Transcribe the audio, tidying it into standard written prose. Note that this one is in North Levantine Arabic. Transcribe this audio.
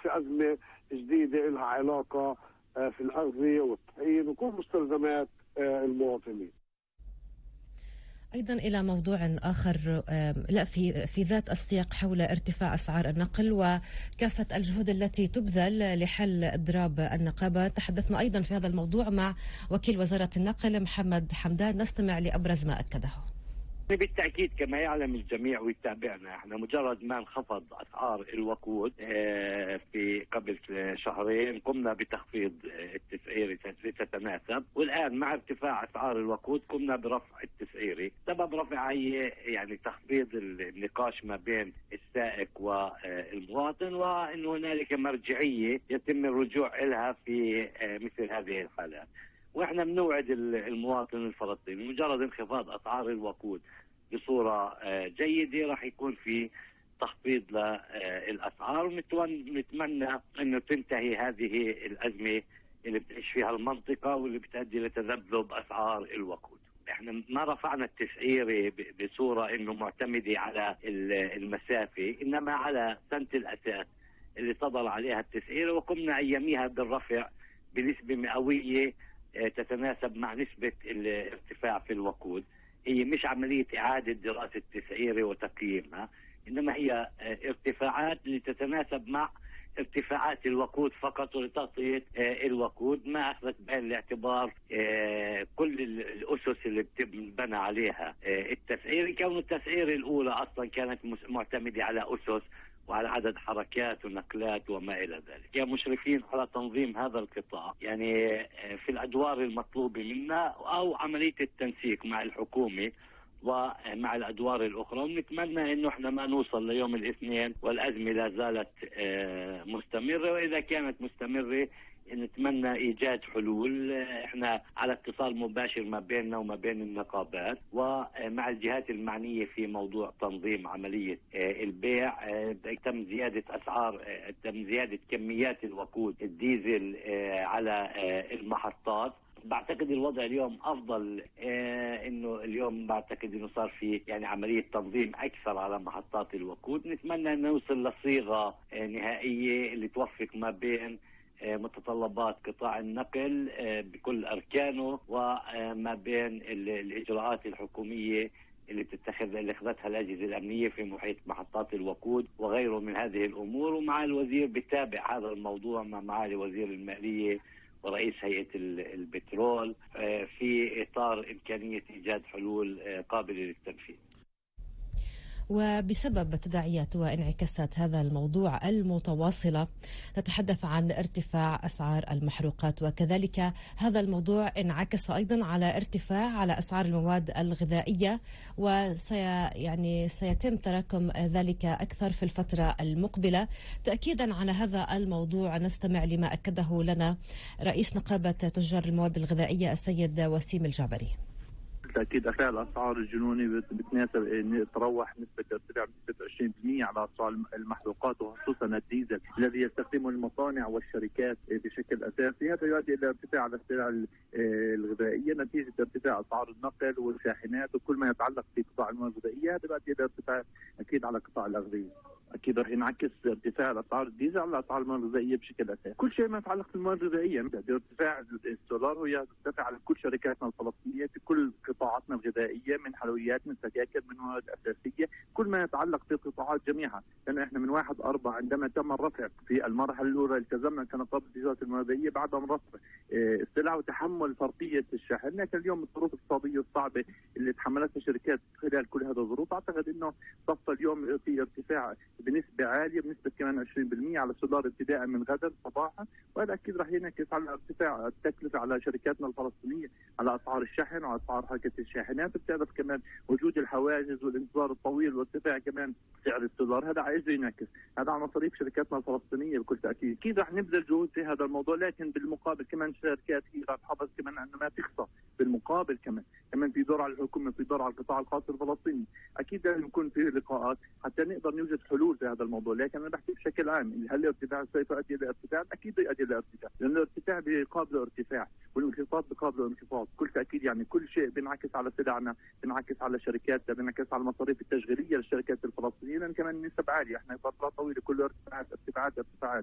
في أزمة جديدة لها علاقة في الأغذية والطحين وكل مستلزمات المواطنين. أيضا إلى موضوع آخر لا في ذات السياق حول ارتفاع أسعار النقل وكافة الجهود التي تبذل لحل إضراب النقابة. تحدثنا أيضا في هذا الموضوع مع وكيل وزارة النقل محمد حمدان، نستمع لأبرز ما أكده. بالتأكيد كما يعلم الجميع ويتابعنا، احنا مجرد ما انخفض أسعار الوقود في قبل شهرين قمنا بتخفيض التسعيري تتناسب، والآن مع ارتفاع أسعار الوقود قمنا برفع التسعيري. سبب رفع هي يعني تخفيض النقاش ما بين السائق والمواطن، وأن هنالك مرجعية يتم الرجوع إلها في مثل هذه الحالات. واحنا بنوعد المواطن الفلسطيني مجرد انخفاض اسعار الوقود بصوره جيده راح يكون في تخفيض للاسعار، ونتمنى انه تنتهي هذه الازمه اللي بتعيش فيها المنطقه واللي بتؤدي لتذبذب اسعار الوقود. احنا ما رفعنا التسعيره بصوره انه معتمده على المسافه، انما على سنه الاساس اللي صدر عليها التسعيره، وقمنا اياميها بالرفع بنسبه مئويه تتناسب مع نسبة الارتفاع في الوقود. هي مش عملية إعادة دراسة تسعيرة وتقييمها، إنما هي ارتفاعات لتتناسب مع ارتفاعات الوقود فقط، ولتغطية الوقود ما أخذت بعين الاعتبار كل الأسس اللي بتبنى عليها التسعير، كون التسعير الأولى أصلا كانت معتمدة على أسس وعلى عدد حركات ونقلات وما إلى ذلك. يا مشرفين على تنظيم هذا القطاع يعني في الأدوار المطلوبة منا أو عملية التنسيق مع الحكومة ومع الأدوار الأخرى، ونتمنى أنه احنا ما نوصل ليوم الاثنين والأزمة لا زالت مستمرة، وإذا كانت مستمرة نتمنى إيجاد حلول. احنا على اتصال مباشر ما بيننا وما بين النقابات ومع الجهات المعنية في موضوع تنظيم عملية البيع. تم زيادة أسعار، تم زيادة كميات الوقود الديزل على المحطات. بعتقد الوضع اليوم افضل، انه اليوم بعتقد انه صار في يعني عمليه تنظيم اكثر على محطات الوقود. نتمنى ان نوصل لصيغه نهائيه اللي توفق ما بين متطلبات قطاع النقل بكل اركانه وما بين الاجراءات الحكوميه اللي اخذتها الاجهزه الامنيه في محيط محطات الوقود وغيره من هذه الامور. ومع الوزير بتابع هذا الموضوع مع معالي وزير الماليه ورئيس هيئة البترول في إطار إمكانية إيجاد حلول قابلة للتنفيذ. وبسبب تداعيات وانعكاسات هذا الموضوع المتواصلة نتحدث عن ارتفاع أسعار المحروقات، وكذلك هذا الموضوع انعكس أيضا على ارتفاع على أسعار المواد الغذائية، سيتم تراكم ذلك أكثر في الفترة المقبلة. تأكيدا على هذا الموضوع نستمع لما أكده لنا رئيس نقابة تجار المواد الغذائية السيد وسيم الجعبري. بالتأكيد ارتفاع الأسعار الجنوني بتناسب أن تروح نسبة ارتفاع بنسبة 20% على أسعار المحروقات وخصوصا الديزل الذي يستخدمه المصانع والشركات بشكل أساسي. هذا يؤدي إلى ارتفاع على السلع الغذائية نتيجة ارتفاع أسعار النقل والشاحنات وكل ما يتعلق في قطاع المواد الغذائية. هذا يؤدي إلى ارتفاع أكيد على قطاع الأغذية. اكيد رح ينعكس ارتفاع الاسعار الديزل على اسعار المواد الغذائيه بشكل اساسي. كل شيء ما يتعلق بالمواد الغذائيه، ارتفاع السولار هو يرتفع على كل شركاتنا الفلسطينيه في كل قطاعاتنا الغذائيه، من حلويات من سكاكر من مواد اساسيه، كل ما يتعلق في القطاعات جميعها. لانه احنا من 1/4 عندما تم الرفع في المرحله الاولى التزمنا كنقابه تجاره المواد الغذائيه بعد من رفع السلع وتحمل فرضيه الشحن. لكن اليوم الظروف الاقتصاديه الصعبه اللي تحملتها الشركات خلال كل هذه الظروف، اعتقد انه صفى اليوم في ارتفاع بنسبة عالية بنسبة كمان 20% على السولار ابتداء من غدا صباحا، وهذا أكيد رح ينعكس على ارتفاع التكلفة على شركاتنا الفلسطينية على أسعار الشحن وعلى أسعار حركة الشاحنات. بتعرف كمان وجود الحواجز والانتظار الطويل وارتفاع كمان سعر السولار، هذا عايز ينعكس هذا على مصاريف شركاتنا الفلسطينية بكل تأكيد. أكيد رح نبذل جهود في هذا الموضوع، لكن بالمقابل كمان شركات هي رح تحافظ كمان أنه ما تخسر. بالمقابل كمان في دور على الحكومة، في دور على القطاع الخاص الفلسطيني. أكيد لازم يكون في لقاءات حتى نقدر نوجد حلول في هذا الموضوع. لكن انا بحكي بشكل عام، هل الارتفاع سوف يؤدي الى ارتفاع؟ اكيد يؤدي الى ارتفاع، لان الارتفاع بيقابله ارتفاع والانخفاض بيقابله انخفاض. بكل تاكيد يعني كل شيء بينعكس على سلعنا، بينعكس على شركاتنا، بينعكس على المصاريف التشغيليه للشركات الفلسطينيه، لان كمان النسب عاليه. احنا فترات طويله كل ارتفاعات.